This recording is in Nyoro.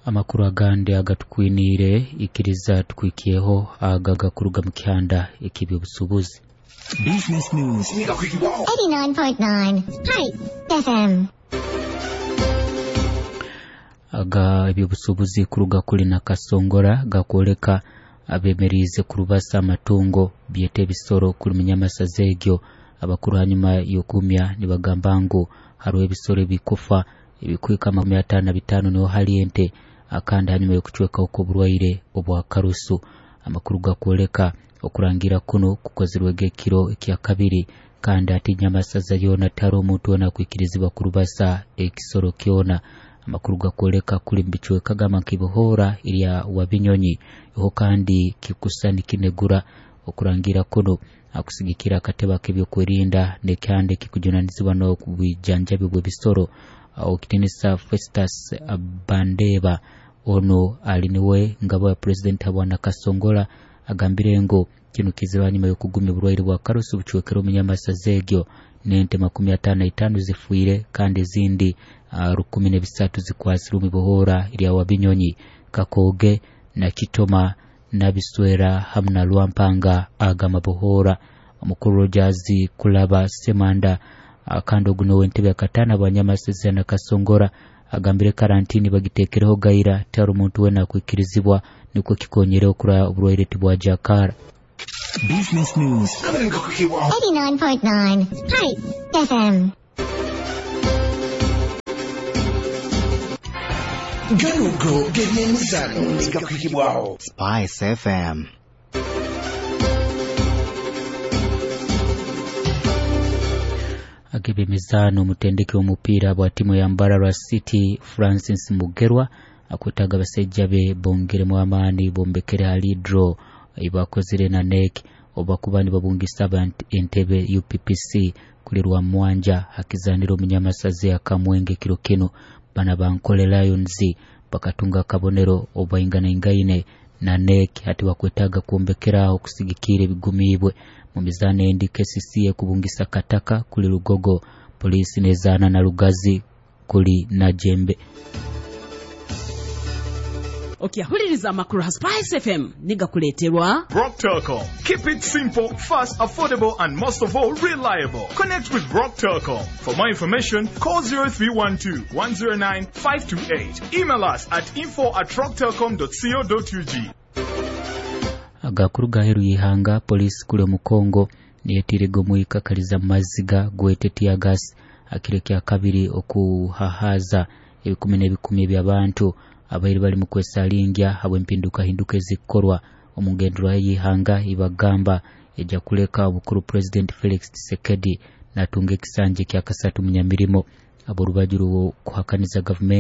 Amakuru agandi agatukwiniire ikiriza tukwikyeho aga gakuruga mu kihanda eky'ebyobusuubuzi. Business News. 89.9 Spice FM. Aga ebyobusuubuzi kuruga kuli Nakasongora gakwoleka abemeriize kurubasa amatungo byeta ebisoro kuli munyamasaza egyo. Abakuru hanyuma y'okumya nibagamba ngu hariho ebisoro ebikufa ebikuhika 55 niho hali ente, akandi hanyuma y'okucwekaho kw'oburwaire obwa karusu. Amakuru gakwoleka okurangira kuno kukozirwege ekiro ekya kabiri, kandi ati nyamasaza yoona tihariho omuntu weena akwikirizibwa kurubasa ekisoro kyona. Amakuru gakwoleka kuli mubicweka gamba nk'ibihoora erya Wabinyonyi iho kandi kikusa nikinegura. Okurangira kuno akusigikira akatebe ak'ebyokwerinda n'ekihanda ekikujunanizibwa n'obwijanjabi bw'ebisoro okitinisa Festus Bandeba. Ono ali niwe ngabo ya pulezidenti habwa Nakasongola agambire ngu kinu kizira hanyuma y'okugumya oburwaire bwa karusu bucwekere omunyamasaza egyo n'ente 55 zifiire kandi ezindi 1,003 zikwasirwe omu bihoora erya Wabinyonyi, Kakooge na Kitoma, Nabiswera hamu na Lwampanga aga mabohoora. Omukuru Rogers Kulaba Semanda, kandi ogu niwe entebe yakataano abanyamasaza Nakasongora, agambire karantini bagiteekereho gaira tihariho omuntu weena akwikirizibwa nikwo kikonyere okura oburwaire tibwajakara. Business News. 89.9 Spice FM. Ganugo g'ebyemizano gakwikibwaho Spice FM. Ag'ebyemizaano, omutendeki w'omupiira bwa tiimu ya Mbarara City Francis Mugerwa akwetaaga abasaija be bongeremu amaani bombekere hali draw eibakozire na NEC obu bakuba nibabungisa abantu entebe UPPC kuli Rwamwanja hakizanira omunyamasaza akamwenge kiro kinu. Bana bankole Lions bakatunga akabonero obu bainganaingaine na NEC, hati bakwetaaga kwombekeraho kusigikira ebigumiibwe. Mu mizaano endi, KCC ekubungisa Kataka kuli Lugogo, Poliisi nezaana na Lugazi kuli Najembe. Okyahuliriza amakuru ha Spice FM nigakuleeterwa Rock Telecom. Keep it simple, fast, affordable, and most of all, reliable. Connect with Rock Telecom. For more information, call 0312 109 528. Email us at info@rocktelecom.co.ug. Agakuru gaheru y'ihanga, poliisi kuli omu Congo niyetiirega omwika kaliza maziga gwete tear gas akiro kya kabiri okuhahaza ebikumi n'ebikumi eby'abantu abaire bali mu kwesalingya habw'empindukahinduka ezikukorwa omu ngenderwaho y'ihanga ibagamba ejja kuleka obukuru President Felix Tshisekedi natunga ekisanja ekyakasatu munyamirimo. Ab'orubaju rw'okuhakaniza gavumenti.